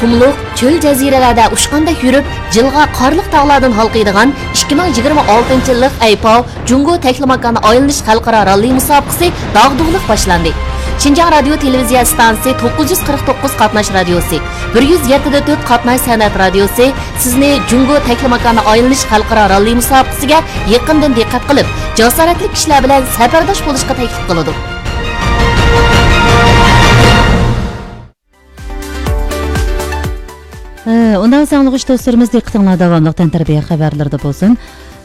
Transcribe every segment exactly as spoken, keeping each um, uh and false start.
قۇملۇق، چۆل جەزىرىلەردە ئۇچقاندەك يۈرۈپ، جىلغا قارلىق تاغلاردىن ھالقىيدىغان ئىككى مىڭ يىگىرمە ئالتىنچى يىللىق ئەيپاۋ جۇڭگو تەكلىماكاننى ئايلىنىش خەلقئارا راللى مۇسابىقىسى داغدۇغىلىق باشلاندى. شىنجاڭ رادىيو تېلېۋىزىيە ئىستانسىسى توققۇز يۈز قىرىق توققۇز قاتناش رادىيوسى، بىر يۈز يەتتە دە تۆت قاتناش سەنئەت رادىيوسى سىزنى جۇڭگو تەكلىماكاننى ئايلىنىش خەلقئارا راللى مۇسابىقىسىگە يېقىندىن دىققەت قىلىپ، جاسارەتلىك كىشىلەر بىلەن سەپەرداش بولۇشقا تەكلىپ قىلىدۇ. ئۇنداق بولسا ئاڭلىغۇچى دوستلىرىمىز، دىققىتىڭلار داۋاملىق تەنتەربىيە خەۋەرلىرىدە بولسۇن.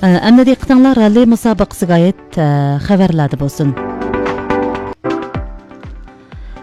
ئە، ئەمدى دىققىتىڭلار راللى مۇسابىقىسىگە ئائىت، ئە، خەۋەرلەردە بولسۇن.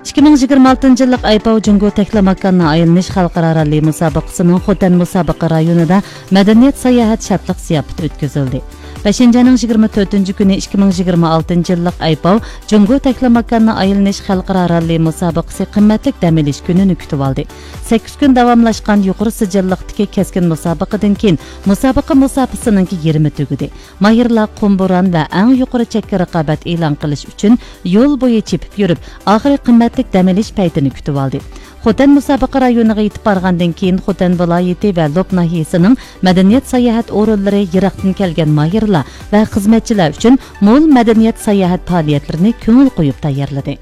ئىككى مىڭ يىگىرمە ئالتىنچى يىللىق ئەيپاۋ جۇڭگو تەكلىماكاننى ئايلىنىش خەلقئارا راللى مۇسابىقىسىنىڭ خوتەن مۇسابىقە رايونىدا مەدەنىيەت ساياھەت شادلىق زىياپىتى ئۆتكۈزۈلدى. بەشىنچى ئاينىڭ يىگىرمە تۆتىنچى كۈنى ئىككى مىڭ يىگىرمە ئالتىنچى يىللىق ئەيپاۋ جۇڭگو تەكلىماكاننى ئايلىنىش خەلقئارا راللى مۇسابىقىسى قىممەتلىك دەم ئېلىش كۈنىنى كۈتۈۋالدى. سەككىز كۈن داۋاملاشقان يۇقىرى سىجىللىقتىكى كەسكىن مۇسابىقىدىن كېيىن مۇسابىقە مۇساپىسىنىڭكى يېرىمى تۈگىدى. ماھىرلار قۇم بوران ۋە ئەڭ يۇقىرى چەككە رىقابەت ئېلان قىلىش ئۈچۈن يول بويى چېپىپ يۈرۈپ، ئاخىرى قىممەتلىك دەم ئېلىش پەيتىنى كۈتۈۋالدى. خوتەن مۇسابىقە رايونىغا يېتىپ بارغاندىن كېيىن، خوتەن ۋىلايىتى ۋە لوپ ناھىيەسىنىڭ مەدەنىيەت ساياھەت ئورۇنلىرى يىراقتىن كەلگەن ماھىرلار ۋە خىزمەتچىلەر ئۈچۈن مول مەدەنىيەت ساياھەت پائالىيەتلىرىنى كۆڭۈل قويۇپ تەييارلىدى.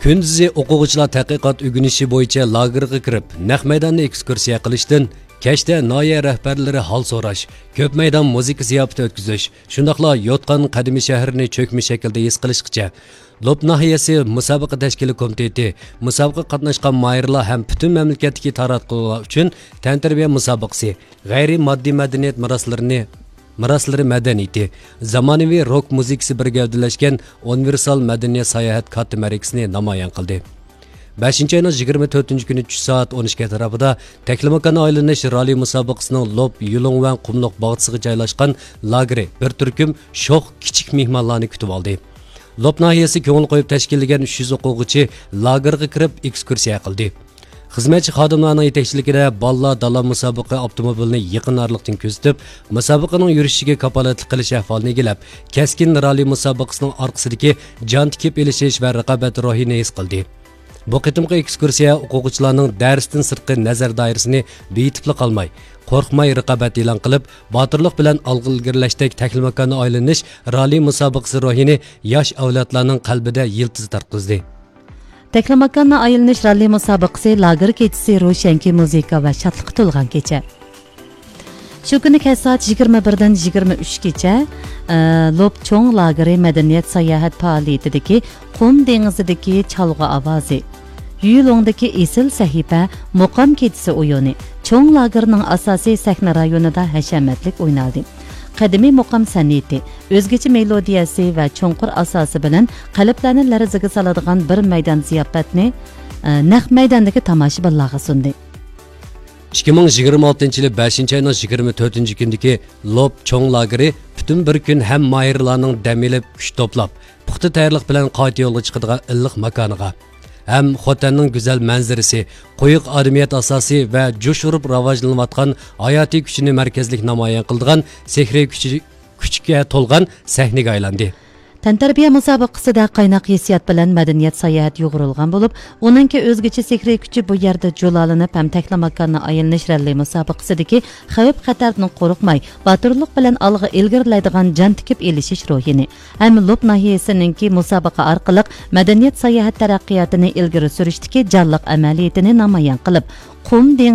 كۈندۈزى ئوقۇغۇچىلار تەتقىقات ئۆگىنىشى بويىچە لاگېرغا كىرىپ، نەق مەيداندا ئېكسكۇرسىيە قىلىشتىن، كەچتە ناھىيە رەھبەرلىرى ھال سوراش، كۆپ مەيدان مۇزىكا زىياپىتى ئۆتكۈزۈش، شۇنداقلا يوتقان قەدىمىي شەھىرىنى چۆكمە شەكىلدە ھېس قىلىشقىچە، لوپ ناھىيەسى مۇسابىقە تەشكىلىي كومىتېتى، مۇسابىقىگە قاتناشقان ماھىرلار ھەم پۈتۈن مەملىكەتتىكى تاراتقۇلار ئۈچۈن تەنتەربىيە مۇسابىقىسى، غەيرىي ماددىي مەدەنىيەت مىراسلىرىنى، مىراسلىرى مەدەنىيىتى، زامانىۋى روك مۇزىكىسى بىر گەۋدىلەشكەن ئۇنىۋېرسال مەدەنىيەت ساياھەت كاتتا مەرىكىسىنى نامايان قىلدى. بەشىنچى ئاينىڭ يىگىرمە تۆتىنچى كۈنى چۈش سائەت ئون ئىككى ئەتراپىدا تەكلىماكاننى ئايلىنىش راللى مۇسابىقىسىنىڭ لوپ يۇلۇڭۋەن قۇملۇق باغچىسىغا جايلاشقان لاگېرى بىر تۈركۈم شوخ كىچىك مېھمانلارنى كۈتۈۋالدى. لوپ ناھىيەسى كۆڭۈل قويۇپ تەشكىللىگەن ئۈچ يۈز ئوقۇغۇچى لاگېرغا كىرىپ ئېكسكۇرسىيە قىلدى. خىزمەتچى خادىملارنىڭ يېتەكچىلىكىدە بالىلار دالا مۇسابىقە ئاپتوموبىلىنى يېقىن ئارىلىقتىن كۆزىتىپ، مۇسابىقىنىڭ يۈرۈشىگە كاپالەتلىك قىلىش ئەھۋالىنى ئىگىلەپ، كەسكىن راللى مۇسابىقىسىنىڭ ئارقىسىدىكى جان تىكىپ ئېلىشىش ۋە رىقابەت روھىنى ھېس قىلدى. بۇ قېتىمقى ئېكسكۇرسىيە ئوقۇغۇچىلارنىڭ دەرستىن سىرتقى نەزەر دائىرىسىنى بېيىتىپلا قالماي، قورقماي رىقابەت ئېلان قىلىپ، باتۇرلۇق بىلەن ئالغا ئىلگىرىلەشتەك تەكلىماكاننى ئايلىنىش راللى مۇسابىقىسى روھىنى ياش ئەۋلادلارنىڭ قەلبىدە يىلتىز تارتقۇزدى. تەكلىماكاننى ئايلىنىش راللى مۇسابىقىسى لاگېر كېچىسى روشەنكى مۇزىكا ۋە شادلىققا تولغان كېچە. شۇ كۈنى كەچ سائەت يىگىرمە بىردىن يىگىرمە ئۈچكىچە، ئە، لوپ چوڭ لاگېرى مەدەنىيەت ساياھەت پائالىيىتىدىكى قۇم دېڭىزىدىكى چالغۇ ئاۋازى، يۈلۇڭدىكى ئېسىل سەھىپە مۇقام كېچىسى ئويۇنى چوڭ لاگېرنىڭ ئاساسىي سەھنە رايونىدا ھەشەمەتلىك ئوينالدى. قەدىمىي مۇقام سەنئىتى، ئۆزگىچە مېلودىيەسى ۋە چوڭقۇر ئاساسى بىلەن قەلبلەرنى لەرزىگە سالىدىغان بىر مەيدان زىياپەتنى، ئە، نەق مەيداندىكى تاماشىبىنلارغا سۇندى. ئىككى مىڭ يىگىرمە ئالتىنچى يىلى بەشىنچى ئاينىڭ يىگىرمە تۆتىنچى كۈنىدىكى لوپ چوڭ لاگېرى پۈتۈن بىر كۈن ھەم ماھىرلارنىڭ دەم ئېلىپ، كۈچ توپلاپ، پۇختا تەييارلىق بىلەن قايتا يولغا چىقىدىغان ئىللىق ماكانىغا ھەم خوتەننىڭ گۈزەل مەنزىرىسى، قويۇق ئادىمىيەت ئاساسى ۋە جۇش ئۇرۇپ راۋاجلىنىۋاتقان ھاياتىي كۈچىنى مەركەزلىك نامايان قىلىدىغان سېھرىي كۈچى، كۈچكە تولغان سەھنىگە ئايلاندى. تەنتەربىيە مۇسابىقىسىدە قايناق ھېسسىيات بىلەن مەدەنىيەت ساياھەت يۇغۇرۇلغان بولۇپ، ئۇنىڭكى ئۆزگىچە سېھرىي كۈچى بۇ يەردە جۇلالىنىپ ھەم تەكلىماكاننى ئايلىنىش رەللى مۇسابىقىسىدىكى خەۋپ-خەتەردىن قورقماي، باتۇرلۇق بىلەن ئالغا ئىلگىرىلەيدىغان جان تىكىپ ئېلىشىش روھىنى ھەم لوپ ناھىيەسىنىڭكى مۇسابىقە ئارقىلىق مەدەنىيەت ساياھەت تەرەققىياتىنى ئىلگىرى سۈرۈشتىكى جانلىق ئەمەلىيىتىنى نامايان قىلىپ، قۇم دېڭىزى